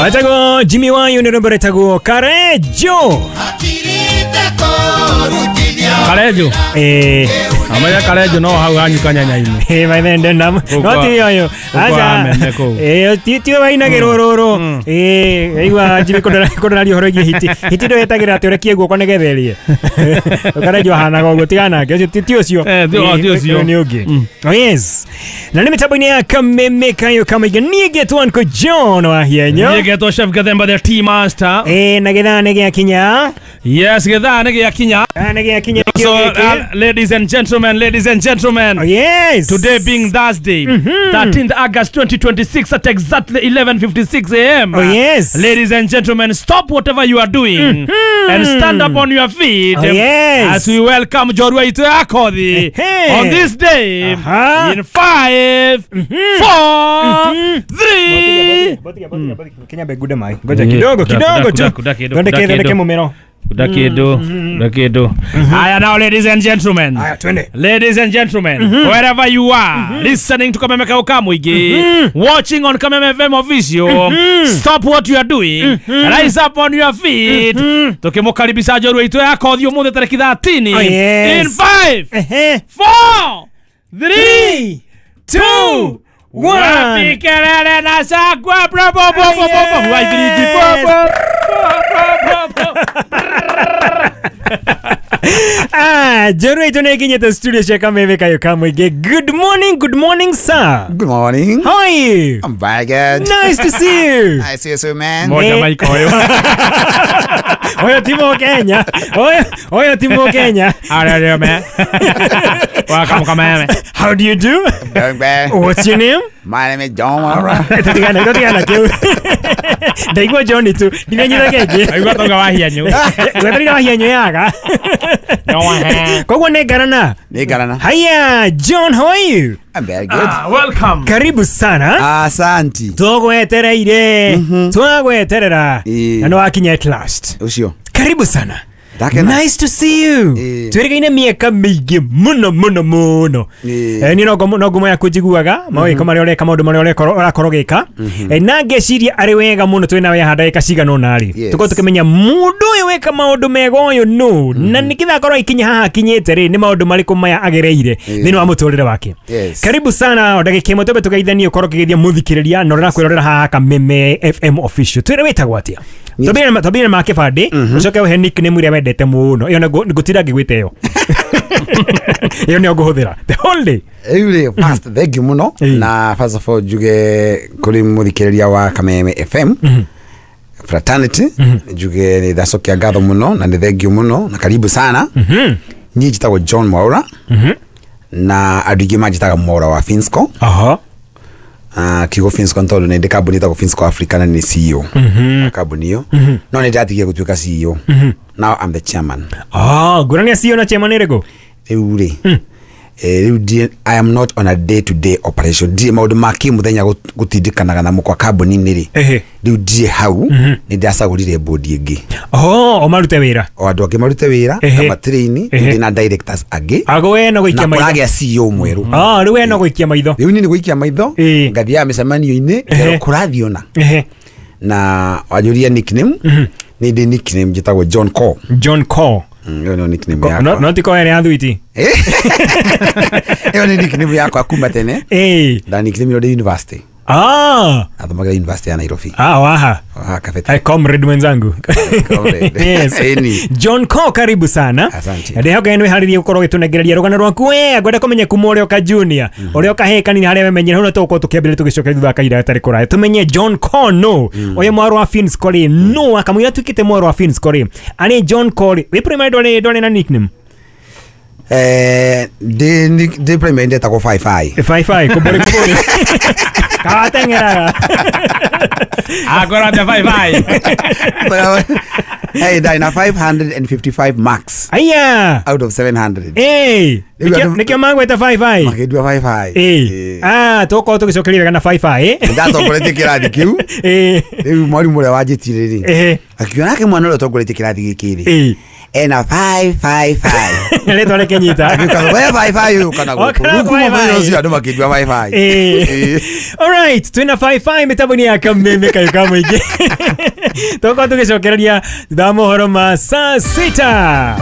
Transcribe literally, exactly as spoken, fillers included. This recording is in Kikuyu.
Wetagwo Jimmy Wayu nĩ rwĩmbo rwĩtagwo Karejo. Karejo. Eh, Amaya Karejo no hau hanyuka nyanya-inĩ. Eh, my friend nam. No ti yoyo. Acha. Eh, ti ti wainagĩrwo rũrũ. Eh, igua Jimmy kũndora kũndora ũhoro wĩgiĩ hiti. Hiti ndo yetagĩra atĩ ũrekie guoko nĩgetha ĩrĩe. Karejo ahanaga ũguo tigana nake. Ũcio ti ũcio. Eh, ti ũcio. Nĩ ũngĩ. Oh yes. Na nĩ mĩtambo-inĩ ya Kameme Kayo Kamaiga niĩ ngetwo Uncle John wa Hienyo. Niĩ ngetwo Chef Gathemba the tea master. Eh, na gĩthaa nĩ gĩakinya. Yes, gĩthaa nĩ gĩakinya. Nĩ gĩakinya. So, uh, ladies and gentlemen, ladies and gentlemen. Oh, yes. Today being Thursday, mm-hmm. thirteenth August twenty twenty-six at exactly eleven fifty-six a m. Oh, yes. Ladies and gentlemen, stop whatever you are doing mm-hmm. and stand up on your feet. Oh, yes. As we welcome Jorua Itoakothi hey. on this day uh-huh. in five, mm-hmm. four, mm-hmm. three. Kenya begude mai. Ngoja kidogo kidogo tu. Thondeke thondeke mumero. Dakido, dakido. Aya, now ladies and gentlemen. Aya, twende. Ladies and gentlemen, mm-hmm. wherever you are, mm-hmm. listening to Kameme Kayo Kamuigi, mm-hmm. watching on Kameme F M Official, mm-hmm. stop what you are doing, mm-hmm. rise up on your feet. Mm-hmm. Tukimukaribisha Jorua Itoakothi umuthi tariki thirteen. Oh, yes. In five, uh-huh. four, three, two, one. Wapi kelele na shangwe, bro, bro, bro, bro, bro, bro. Ah, Jorua Itoakothi studio cia Kameme Kayo Kamuigi. Good morning, good morning, sir. Good morning. How are you? I'm very good. Nice to see you. Nice to see you too, man. Moja maiko oyo. Oyo timo Kenya. Oyo oyo timo Kenya. How man. Welcome Kameme. How do you do? I'm doing well. What's your name? My name is John Mwaura. Tutigana, tutigana kiu. Ndaigua John tu. Ndimenyira kengi. Ndaigua tonga wa hianyu. Gweterire wa hianyu yaga. Koguo nĩ ngarana. Nĩ ngarana. Hiya, John, how are you? I'm very good. Ah, welcome. Karibu sana. Asanti. Tugwetereire. Twagweterera. Na no wakinya at last. Ucio. Karibu sana. Dakena. Nice to see you. E. Twirigaine miaka miingi muno muno muno. Eh ni no no ngumo yaku njiguaga mawiko maria ureka maundu maria ureka urakorwo gika. Eh na ngeciria ari wega muno twina we handa ika cigana ona ri. Tukorwo tukimenya mundu uyu weka maundu mega uyu no na nikitha akorwo ikinya haha akinyite ri ni maundu mariku maya agereire thiini wa muturire wake. Karibu sana ndagika imwe twambe tugeithanie ukorwo ukigethia muthikiriria na urakwirorera haha Kameme F M Official. Twire witagwo atia? Twambire twambire ma kibandi ucoke uhe nickname iria wendete muno iyo ngutira ngigwite iyo iyo nĩyo ngũhũthĩra the whole day. Rĩu rĩ first thank you mũno na first of all njuge kũrĩ mũthikĩrĩria wa Kameme F M fraternity njuge nĩ ndacokia ngatho mũno na nĩ thank you mũno na karibu sana. Niĩ njĩtagwo John Mwaura na andũ aingĩ manjĩtaga Mwaura wa Finsco. Aha. Ah, kiugo Finsco tondu nĩ ndĩ kambuni ĩtagwo Finsco Africa na nĩ C E O kambuni ĩyo no nĩ ndatigie gũtuĩka C E O. Now I'm the chairman. Ah, ngũrani ya C E O na chairman ĩrĩkũ? Rĩu rĩ eh rĩu I am not on a day to day operation. Ndirĩ maũndũ ma kĩmũthenya gũtindĩkanaga namo kwa kambuni-inĩ rĩ. Rĩu ndirĩ hau nĩ ndacagũrire board ĩngĩ. Oh, o marute wĩra. O andũ angĩ marute wĩra na matrain ndĩ na directors angĩ. Ago we no gũikia maitho. Na kũragĩa C E O mwerũ. Ah, rĩu we no gũikia maitho. Rĩu niĩ nĩ gũikia maitho ngathiaga mĩcemanio-inĩ ngerwo kũrathiĩ ona. Na wanjũria nickname nĩ ndĩ nickname njĩtagwo John Cole. John Cole. Ĩyo nĩyo nickname yakwa. No, no ti ko ĩrĩa thuiti. Ĩyo nĩ nickname yakwa kuma tene. Eh. Nda nickname ĩyo ndĩ university. Ah. Athomagĩra university ya Nairobi. Ah, waha. Waha kafete. Hey, comrade mwenzangu. Comrade. Yes. Eni. John Cole, karibu sana. Asante. Ndihoka nĩ wĩharĩrie gũkorwo ũgĩtũnengereria rũgano rwaku we ngwenda kũmenya kuma ũrĩa ũka junior ũrĩa ũka kanini harĩa wemenyera hau tũgũkorwo tũkĩambĩrĩria tũgĩcokeria thutha wa kahinda gatarĩ kũraya tũmenye John Cole no ũyũ mwarũ wa Finsco rĩ no akamũira tuĩkĩte mwarũ wa Finsco rĩ arĩ John Cole wĩ primary ndwarĩ ndwarĩ na nickname. Eh, ndĩ ndĩ primary ndetagwo five five. five five kũmbũrĩ kũmbũrĩ. Kawateng'eraga. Agora the five five. Hey, na five hundred fifty-five marks. Aya. Out of seven hundred. Eh. Nikio mangweta five five. Makĩndua five five. Eh. Ah, tũgũkorwo tũgĩcokeria wega na five five eh. Ndatongoretie kĩrathi kĩu. Eh. Rĩu mwarimũ ũrĩa wanjĩtire rĩ. Eh. Akiona nake mwana ũrĩa ũtongoretie kĩrathi gĩkĩ rĩ. Eh. Ena five five five. Rĩtwa rĩkĩnyita. Agĩũka we five five yũka na gũkũ. Okaga Rĩu kuma five mũthenya five. ũcio andũ makĩnjua five five. Eh. Ĩĩ. Alright, twĩna five five mĩtambo-inĩ ya Kameme kayũ ka mũingĩ. Tũgũkorwo tũgĩcokereria thutha wa mohoro ma saa sita.